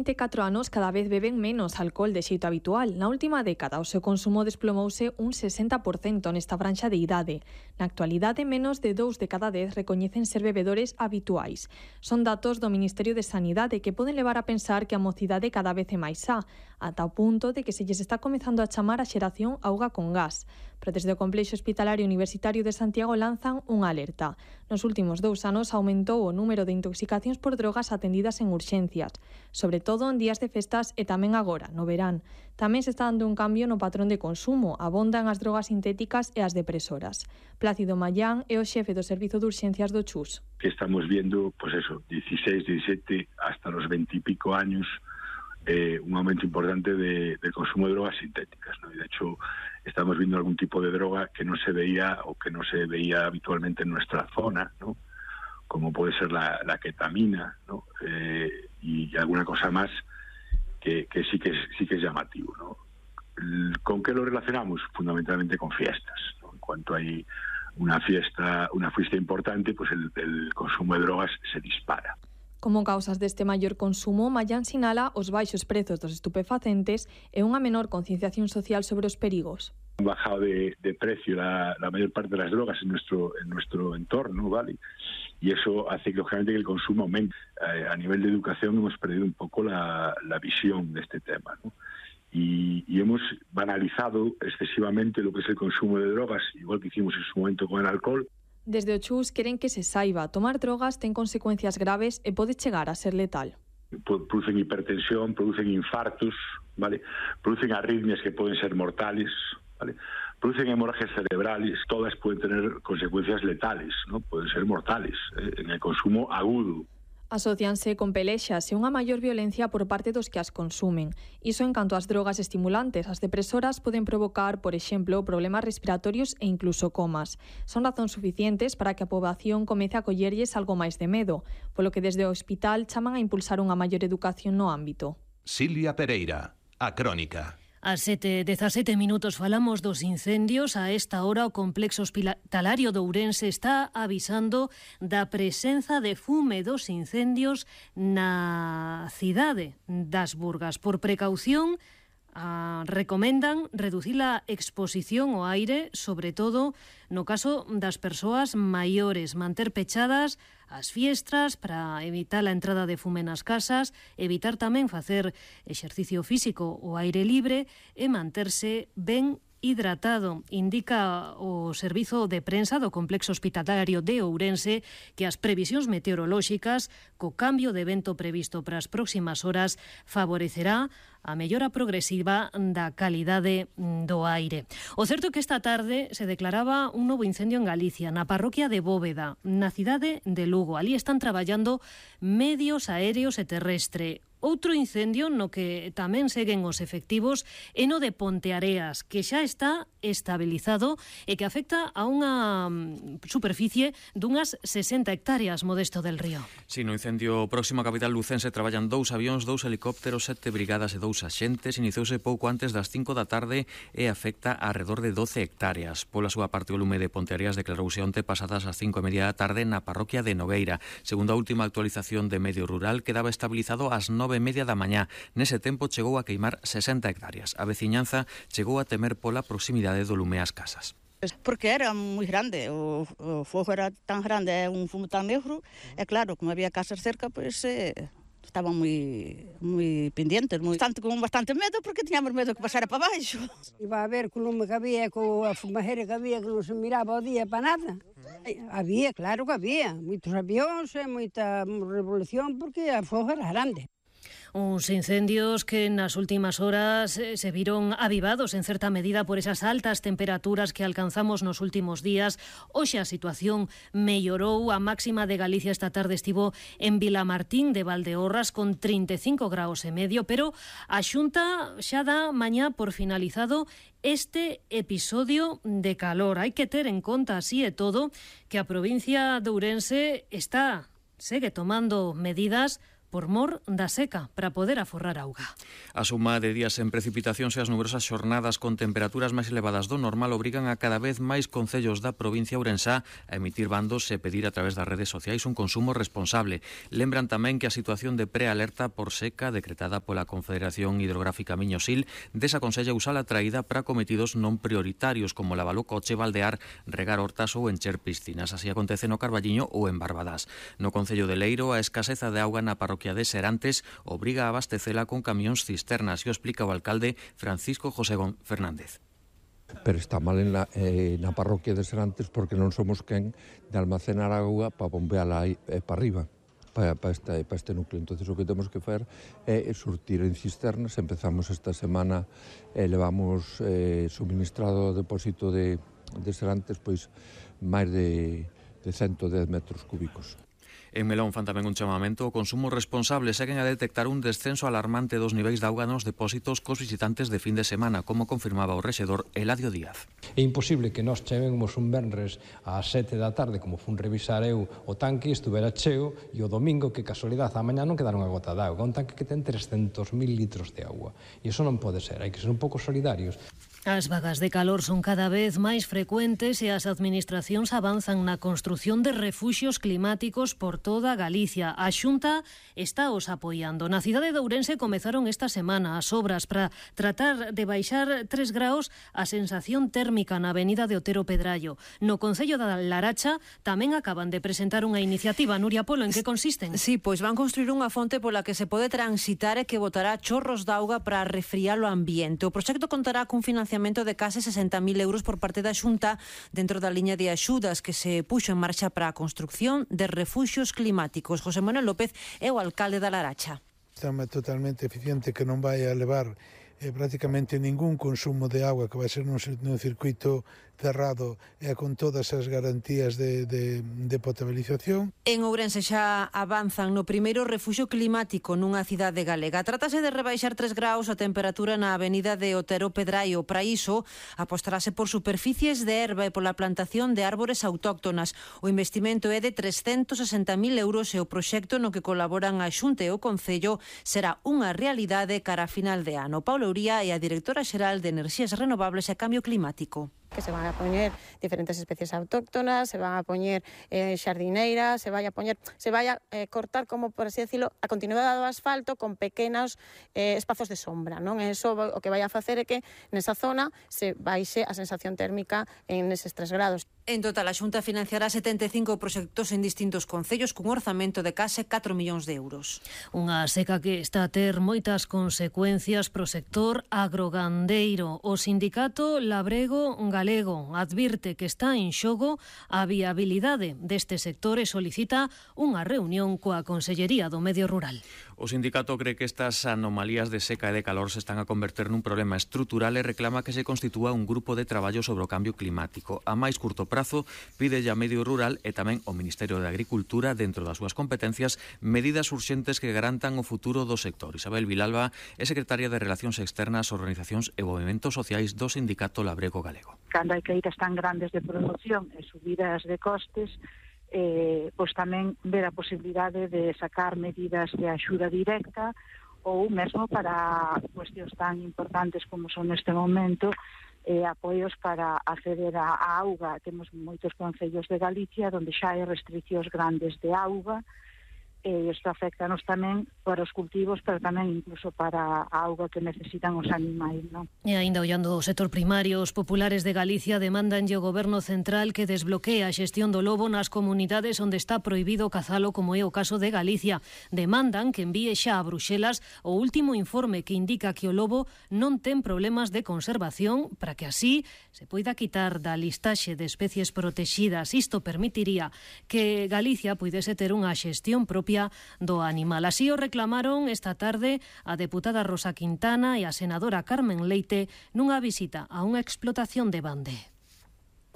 24 anos cada vez beben menos alcohol de xeito habitual. Na última década o seu consumo desplomouse un 60% nesta franxa de idade. Na actualidade, menos de 2 de cada 10 recoñecen ser bebedores habituais. Son datos do Ministerio de Sanidade que poden levar a pensar que a mocidade cada vez é máis xa, ata o punto de que se lles está comezando a chamar a xeración auga con gas. Pero desde o Complexo Hospitalario Universitario de Santiago lanzan unha alerta. Nos últimos 2 anos aumentou o número de intoxicacións por drogas atendidas en urxencias, sobre todo en días de festas e tamén agora, no verán. Tamén se está dando un cambio no patrón de consumo, abondan as drogas sintéticas e as depresoras. Plácido Mayán é o xefe do Servizo de Urxencias do CHUS. Que estamos viendo, pues eso, 16, 17, hasta los 20 y pico años, un aumento importante de consumo de drogas sintéticas, ¿no? Y de hecho estamos viendo algún tipo de droga que no se veía o que no se veía habitualmente en nuestra zona, ¿no? Como puede ser la ketamina, ¿no? Y alguna cosa más que sí que es llamativo, ¿no? ¿Con qué lo relacionamos? Fundamentalmente con fiestas, ¿no? En cuanto hay una fiesta importante, pues el consumo de drogas se dispara. Como causas deste maior consumo, Mayán sinala os baixos prezos dos estupefacentes e unha menor concienciación social sobre os perigos. Han bajado de precio la mayor parte de las drogas en nuestro entorno, ¿vale? Y eso hace que, lógicamente, que el consumo aumente. A nivel de educación hemos perdido un poco la visión de este tema, ¿no? Y hemos banalizado excesivamente lo que es el consumo de drogas, igual que hicimos en su momento con el alcohol. Desde o CHUS queren que se saiba, tomar drogas ten consecuencias graves e pode chegar a ser letal. Producen hipertensión, producen infartos, ¿vale? Producen arritmias que pueden ser mortales, ¿vale? Producen hemorragias cerebrales, todas pueden tener consecuencias letales, ¿no? Pueden ser mortales en el consumo agudo. Asocianse con pelexas e unha maior violencia por parte dos que as consumen. Iso en canto ás drogas estimulantes. As depresoras poden provocar, por exemplo, problemas respiratorios e incluso comas. Son razóns suficientes para que a poboación comece a collerlles algo máis de medo, polo que desde o hospital chaman a impulsar unha maior educación no ámbito. Silvia Pereira, A Crónica. Ás 7:17 falamos dos incendios. A esta hora o Complexo Hospitalario de Ourense está avisando da presenza de fume dos incendios na cidade das Burgas. Por precaución, recomendan reducir a exposición ao aire, sobre todo no caso das persoas maiores, manter pechadas as fiestras para evitar a entrada de fume nas casas, evitar tamén facer exercicio físico ao aire libre e manterse ben hidratado. Indica o Servizo de Prensa do Complexo Hospitalario de Ourense que as previsións meteorolóxicas co cambio de vento previsto para as próximas horas favorecerá a mellora progresiva da calidade do aire. O certo é que esta tarde se declaraba un novo incendio en Galicia, na parroquia de Bóveda, na cidade de Lugo. Ali están traballando medios aéreos e terrestre. Outro incendio no que tamén seguen os efectivos é no de Ponteareas, que xa está estabilizado e que afecta a unha superficie dunhas 60 hectáreas, Modesto del Río. Si, no incendio próximo a capital lucense traballan 2 avións, 2 helicópteros, 7 brigadas e 2 axentes. Iniciouse pouco antes das 5 da tarde e afecta a alrededor de 12 hectáreas. Pola súa parte, o lume de Ponteareas declarouse onte pasadas as 5:30 da tarde na parroquia de Nogueira. Segundo a última actualización de Medio Rural, quedaba estabilizado ás 9:30 da mañá. Nese tempo chegou a queimar 60 hectáreas. A veciñanza chegou a temer pola proximidade do lume ás casas. Porque era moi grande, o fogo era tan grande, é un fumo tan negro, e claro, como había casas cerca, pois estaban moi pendientes, con bastante medo, porque tiñamos medo que pasara para baixo. Iba a ver co lume que había, co a fumajeira que había, que non se miraba o día para nada. Había, claro que había, moitos avións e moita revolución, porque o fogo era grande. Uns incendios que nas últimas horas se viron avivados en certa medida por esas altas temperaturas que alcanzamos nos últimos días. Hoxe a situación mellorou. A máxima de Galicia esta tarde estivo en Vilamartín de Valdeorras con 35 graus e medio, pero a Xunta xa dá mañá por finalizado este episodio de calor. Hai que ter en conta, así e todo, que a provincia de Ourense segue tomando medidas por mor da seca para poder aforrar auga. A suma de días en precipitacións e as numerosas xornadas con temperaturas máis elevadas do normal obrigan a cada vez máis concellos da provincia ourensá a emitir bandos e pedir a través das redes sociais un consumo responsable. Lembran tamén que a situación de prealerta por seca decretada pola Confederación Hidrográfica Miño-Sil desaconsella usar a traída para cometidos non prioritarios como lavar o coche, baldear, regar hortas ou encher piscinas. Así acontece no Carballiño ou en Barbadás. No concello de Leiro, a escaseza de auga na parroquia de Serantes obriga a abastecela con camións cisternas, e o explica o alcalde Francisco José Fernández. Pero está mal na parroquia de Serantes porque non somos quen de almacenar auga para bombeala aí para arriba, para este núcleo. Entonces o que temos que facer é surtir en cisternas. Empezamos esta semana, levamos suministrado ao depósito de Serantes pois máis de 110 metros cúbicos. En Melón fan tamén un chamamento ao consumo responsable. Seguen a detectar un descenso alarmante dos niveis de auga nos depósitos cos visitantes de fin de semana, como confirmaba o rexedor Eladio Díaz. É imposible que nós chegemos un venres ás 7 da tarde, como fun revisar eu o tanque, estuvera cheo, e o domingo, que casualidade, a mañá non quedaron a gota de auga. Un tanque que ten 300.000 litros de auga. E iso non pode ser, hai que ser un pouco solidarios. As vagas de calor son cada vez máis frecuentes e as administracións avanzan na construción de refuxios climáticos por toda Galicia. A Xunta está os apoiando. Na cidade de Ourense comezaron esta semana as obras para tratar de baixar 3 graus a sensación térmica na avenida de Otero Pedrallo. No Concello da Laracha tamén acaban de presentar unha iniciativa. Nuria Polo, en que consisten? Sí, pois van construir unha fonte pola que se pode transitar e que botará chorros de auga para refriar o ambiente. O proxecto contará cun financiamento de case 60.000 euros por parte da Xunta dentro da liña de axudas que se puxo en marcha para a construcción de refuxios climáticos. José Manuel López é o alcalde da Laracha. Está totalmente eficiente, que non vai a levar prácticamente ningún consumo de agua, que vai ser nun circuito cerrado e con todas as garantías de potabilización. En Ourense xa avanzan no primeiro refuxio climático nunha cidade galega. Trátase de rebaixar 3 graus a temperatura na avenida de Otero Pedrallo. Para iso, apostarase por superficies de herba e pola plantación de árbores autóctonas. O investimento é de 360.000 euros e o proxecto no que colaboran a Xunta e o Concello será unha realidade cara a final de ano. Paula Uría é a directora xeral de Enerxías Renovables e Cambio Climático. Que se van a poñer diferentes especies autóctonas, se van a poñer xardineiras, se vai a cortar, como por así decirlo, a continuidade do asfalto con pequenos espazos de sombra, non? E iso o que vai a facer é que nesa zona se baixe a sensación térmica en eses 3 grados. En total, a Xunta financiará 75 proxectos en distintos concellos cun orzamento de case 4 millóns de euros. Unha seca que está a ter moitas consecuencias pro sector agrogandeiro. O sindicato Labrego Galego advirte que está en xogo a viabilidade deste sector e solicita unha reunión coa Consellería do Medio Rural. O sindicato cree que estas anomalías de seca e de calor se están a converter nun problema estrutural e reclama que se constitúa un grupo de traballo sobre o cambio climático. A máis curto prazo, pide a Medio Rural e tamén ao Ministerio de Agricultura, dentro das súas competencias, medidas urxentes que garantan o futuro do sector. Isabel Vilalba é secretaria de Relacións Externas, Organizacións e Movementos Sociais do sindicato Labrego Galego. Cando hai caídas tan grandes de produción e subidas de costes, pois tamén ver a posibilidade de sacar medidas de axuda directa ou mesmo para cuestións tan importantes como son neste momento apoios para acceder á auga. Temos moitos concellos de Galicia onde xa hai restriccións grandes de auga, e isto afectanos tamén para os cultivos, pero tamén incluso para a auga que necesitan os animais, non? E aínda ollando o sector primario, os populares de Galicia demandanlle ao Goberno Central que desbloquee a xestión do lobo nas comunidades onde está prohibido cazalo, como é o caso de Galicia. Demandan que envíe xa a Bruxelas o último informe que indica que o lobo non ten problemas de conservación para que así se poida quitar da listaxe de especies protegidas. Isto permitiría que Galicia puidese ter unha xestión propia do animal. Así o reclamaron esta tarde a deputada Rosa Quintana e a senadora Carmen Leite nunha visita a unha explotación de Bande.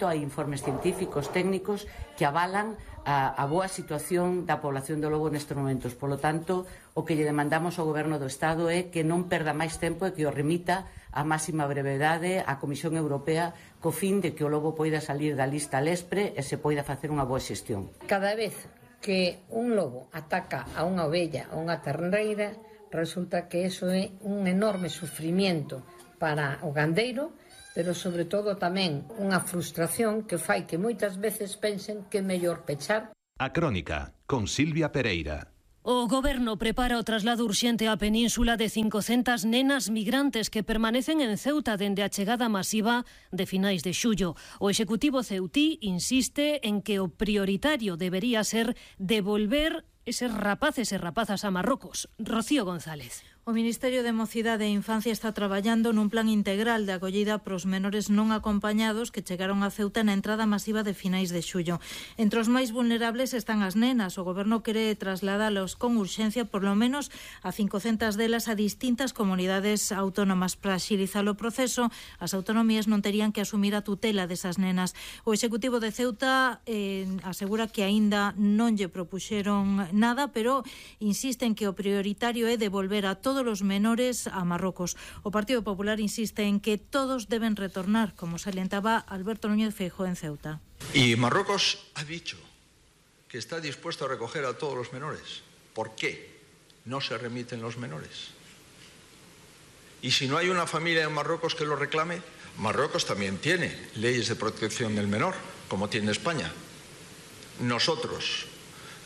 Hai informes científicos, técnicos, que avalan a boa situación da población do lobo nestes momentos. Polo tanto, o que lle demandamos ao Goberno do Estado é que non perda máis tempo e que o remita a máxima brevedade á Comisión Europea co fin de que o lobo poida salir da lista LESPRE e se poida facer unha boa xestión. Cada vez que un lobo ataca a unha ovella ou unha terneira, resulta que eso é un enorme sufrimiento para o gandeiro, pero sobre todo tamén unha frustración que fai que moitas veces pensen que é mellor pechar. A Crónica, con Silvia Pereira. O Goberno prepara o traslado urxente á península de 500 nenas migrantes que permanecen en Ceuta dende a chegada masiva de finais de xullo. O Executivo ceutí insiste en que o prioritario debería ser devolver eses rapaces e rapazas a Marrocos. Rocío González. O Ministerio de Mocidade e Infancia está traballando nun plan integral de acollida pros menores non acompañados que chegaron a Ceuta na entrada masiva de finais de xullo. Entre os máis vulnerables están as nenas. O Goberno quere trasladalos con urxencia por lo menos a 500 delas a distintas comunidades autónomas. Para axilizar o proceso, as autonomías non terían que asumir a tutela desas nenas. O Executivo de Ceuta asegura que aínda non lle propuxeron nada, pero insiste en que o prioritario é devolver a todos os menores a Marrocos. O Partido Popular insiste en que todos deben retornar, como salientaba Alberto Núñez Feijóo en Ceuta. Y Marruecos ha dicho que está dispuesto a recoger a todos los menores. ¿Por qué no se remiten los menores? Y si no hay una familia en Marruecos que lo reclame, Marruecos también tiene leyes de protección del menor, como tiene España. Nosotros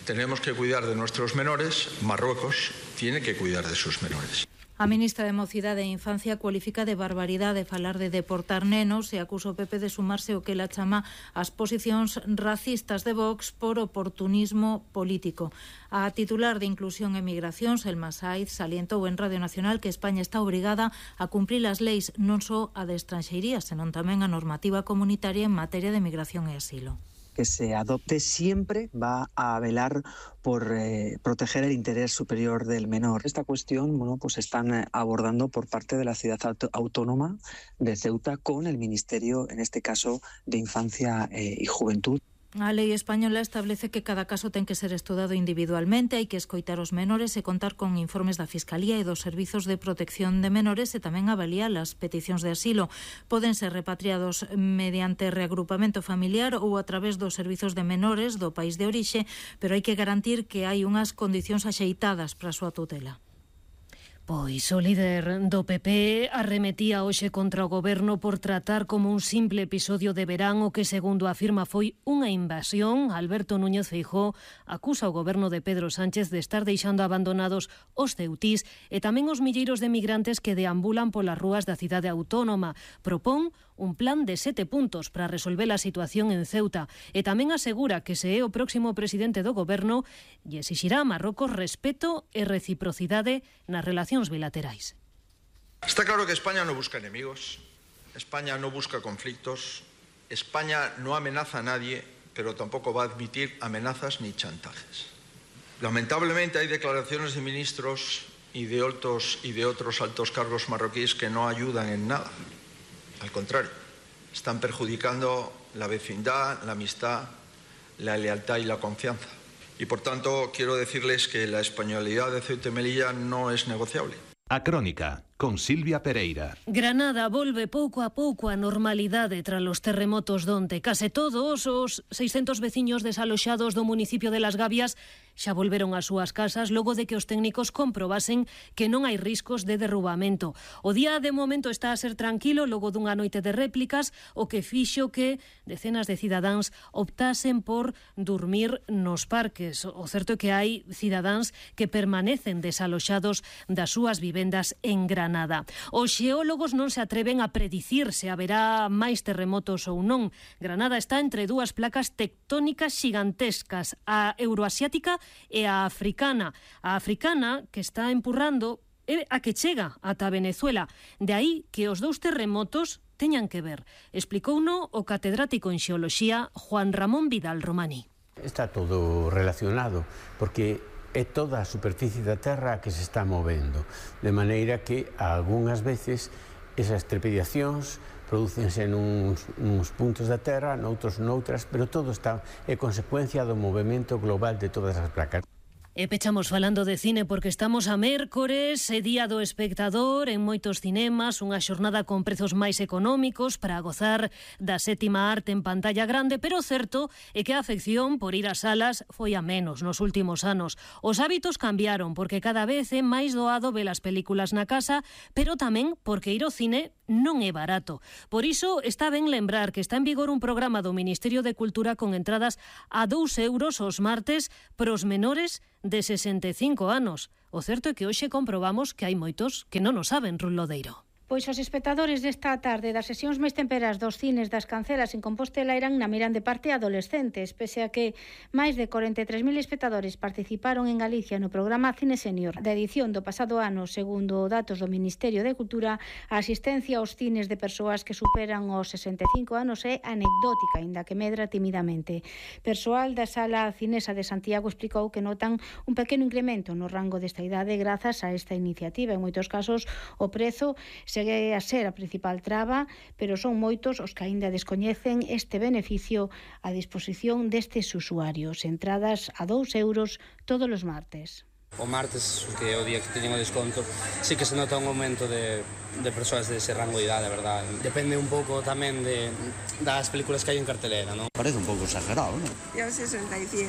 tenemos que cuidar de nuestros menores, Marruecos tiene que cuidar de sus menores. A ministra de Mocidade e Infancia cualifica de barbaridade falar de deportar nenos e acusa o PP de sumarse o que ela chama as posicións racistas de Vox por oportunismo político. A titular de Inclusión e Migracións, Selma Saiz, salientou en Radio Nacional que España está obrigada a cumprir as leis non só a de estranxeiría, senón tamén a normativa comunitaria en materia de migración e asilo. Que se adopte siempre va a velar por proteger el interés superior del menor. Esta cuestión, pues están abordando por parte de la ciudad autónoma de Ceuta con el Ministerio, en este caso, de Infancia y Juventud. A lei española establece que cada caso ten que ser estudado individualmente, hai que escoitar os menores e contar con informes da Fiscalía e dos Servizos de Protección de Menores e tamén avaliar as peticións de asilo. Poden ser repatriados mediante reagrupamento familiar ou a través dos servizos de menores do país de orixe, pero hai que garantir que hai unhas condicións axeitadas para a súa tutela. Pois o líder do PP arremetía hoxe contra o Goberno por tratar como un simple episodio de verán o que, segundo afirma, foi unha invasión. Alberto Núñez Feijóo acusa o Goberno de Pedro Sánchez de estar deixando abandonados os ceutís e tamén os milleiros de migrantes que deambulan polas rúas da cidade autónoma. Propón un plan de 7 puntos para resolver a situación en Ceuta e tamén asegura que se é o próximo presidente do Goberno lle exixirá a Marrocos respeto e reciprocidade nas relacións bilaterais. Está claro que España no busca enemigos, España no busca conflictos, España no amenaza a nadie, pero tampoco va a admitir amenazas ni chantajes. Lamentablemente hay declaraciones de ministros y de otros altos cargos marroquíes que no ayudan en nada. Al contrario, están perjudicando la vecindad, la amistad, la lealtad y la confianza. Y por tanto, quiero decirles que la españolidad de Ceuta y Melilla no es negociable. A Crónica, con Silvia Pereira. Granada volve pouco a pouco a normalidade tras os terremotos donte. Case todos os 600 veciños desaloxados do municipio de Las Gavias xa volveron ás súas casas logo de que os técnicos comprobasen que non hai riscos de derrubamento. O día de momento está a ser tranquilo logo dunha noite de réplicas, o que fixo que decenas de cidadáns optasen por dormir nos parques. O certo é que hai cidadáns que permanecen desaloxados das súas vivendas en Granada. Os xeólogos non se atreven a predicir se haberá máis terremotos ou non. Granada está entre dúas placas tectónicas xigantescas, a euroasiática e a africana. A africana, que está empurrando, é a que chega ata Venezuela. De aí que os dous terremotos teñan que ver. Explicouno o catedrático en xeoloxía Juan Ramón Vidal Romaní. Está todo relacionado, porque é toda a superficie da Terra que se está movendo, de maneira que algunhas veces esas trepidacións prodúcense nuns puntos da Terra, noutras, pero todo está é consecuencia do movimento global de todas as placas. E pechamos falando de cine porque estamos a mércores, é día do espectador en moitos cinemas, unha xornada con prezos máis económicos para gozar da sétima arte en pantalla grande, pero o certo é que a afección por ir ás salas foi a menos nos últimos anos. Os hábitos cambiaron porque cada vez é máis doado ver as películas na casa, pero tamén porque ir ao cine non é barato. Por iso está ben lembrar que está en vigor un programa do Ministerio de Cultura con entradas a 2 euros os martes pros menores de 65 anos. O certo é que hoxe comprobamos que hai moitos que non o saben, Ruth Lodeiro. Pois os espectadores desta tarde das sesións máis temperas dos cines das Cancelas en Compostela eran na miran de parte adolescentes, pese a que máis de 43.000 espectadores participaron en Galicia no programa Cine Senior da edición do pasado ano. Segundo datos do Ministerio de Cultura, a asistencia aos cines de persoas que superan os 65 anos é anecdótica, aínda que medra timidamente. Persoal da Sala Cinesa de Santiago explicou que notan un pequeno incremento no rango desta idade grazas a esta iniciativa. En moitos casos o prezo segue a ser a principal traba, pero son moitos os que aínda descoñecen este beneficio a disposición destes usuarios. Entradas a 2 euros todos os martes. O martes, que é o día que teñen o desconto, sí que se nota un aumento de persoas dese rango de idade, a verdade. Depende un pouco tamén das películas que hai en cartelera, ¿no? Parece un pouco exagerado, ¿no? Yo 67.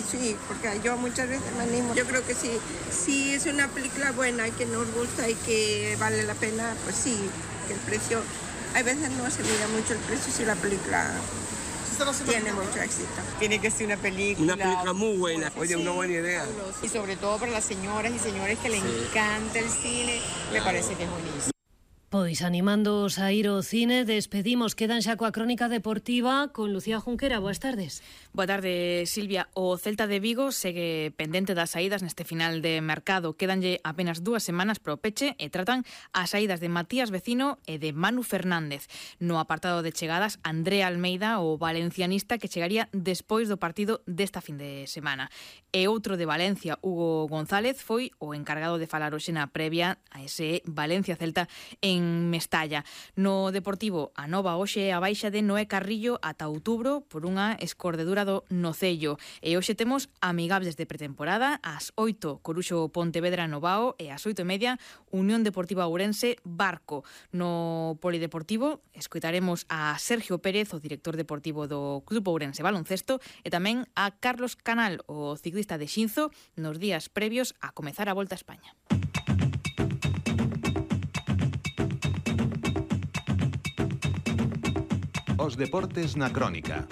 Sí, porque yo muchas veces me animo. Yo creo que sí. Si es una película buena y que nos gusta y que vale la pena, pues sí, que el precio... Hay veces no se mira mucho el precio si la película tiene mucho éxito. Tiene que ser una película muy buena. Oye, sí, una buena idea. Y sobre todo para las señoras y señores que le encanta el cine, me parece que es buenísimo. Pois animándoos a ir ao cine, despedimos, quedan xa coa crónica deportiva con Lucía Junquera. Boas tardes. Boa tarde, Silvia. O Celta de Vigo segue pendente das saídas neste final de mercado. Quédanlle apenas 2 semanas pro peche e tratan as saídas de Matías Vecino e de Manu Fernández. No apartado de chegadas, André Almeida, o valencianista que chegaría despois do partido desta fin de semana. E outro de Valencia, Hugo González, foi o encargado de falar hoxe na previa a ese Valencia-Celta en Mestalla. No Deportivo, a nova hoxe a baixa de Noé Carrillo ata outubro por unha escordedura do nocello. E hoxe temos amigables de pretemporada, ás 8 Coruxo Pontevedra Novao e ás 8:30 Unión Deportiva Ourense Barco. No Polideportivo escoitaremos a Sergio Pérez, o director deportivo do Club Ourense Baloncesto, e tamén a Carlos Canal, o ciclista de Xinzo, nos días previos a comezar a Volta a España. Os deportes na crónica.